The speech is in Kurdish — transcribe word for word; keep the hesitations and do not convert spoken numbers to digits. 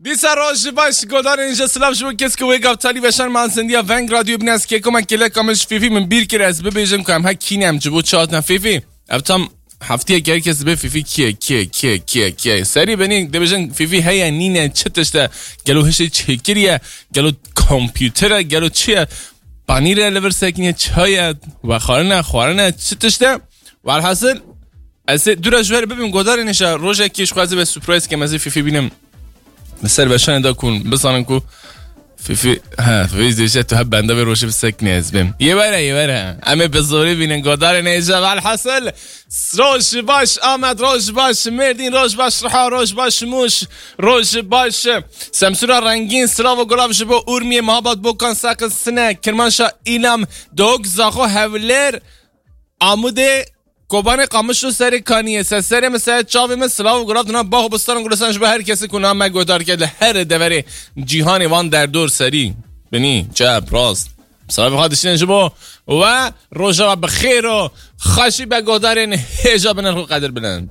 Dîsa roj baş, godarên ji silav ji bo kes ku wê gav talî veşan man zindiya Veng Radyo bine ez kêkoma kêleka min ji Fîfî min bîr kir ez bibêjim ku em he kî ne em ji bo çi hatine Fîfî. Ev tam heftiyek her kes dibe Fîfî kî ye, kî ye, kî ye, kî ye, kî ye. Serî benî dibêjin Fîfî heye, nîne, çi tişt e? Gelo hişê çêkiriye? Gelo kompûter e? Gelo çi ye? Panîr e li vir sekiniye, çay e, vexwarine, xwarine, çi tişt e? Welhasil, ez ê dû re ji we re bibim, godarên hêja, rojekê ji xwe ez ê be surprise kem, ez ê Fîfî bînim. Li ser veşanê de kun, bizanin ku Fîfî, he, Fîfî dêje tu hep benda vê rojê bi sekiniye ez bêm. Yê were, yê were. Em ê bi zorî bînin, godarên hêja, welhasil. Roj baş Amed, roj baş Mêrdîn, roj baş Riha, roj baş Mûş, roj baş Semsûra Rengîn, silav û gulav ji bo Urmiyê, Mahabat, Bokan, Saqin, Sine, Kirmanşa, Îlam, Dok, Zaxo, Hewlêr, Amûdê, Kobanê, Qamişlo, Serê Kaniyê, Seserê min, Serê Çavê min, silav û gulav dina bax û bistan û gulistan ji bo her kesî ku nav me guhdar kir li her deverê cîhanê, van derdor, serî, binî, çep, rast. Silavê xwe dişînin ji bo we, rojeva bi xêr û xweşî be, godarên hêja, bi nirx û qedir bilind.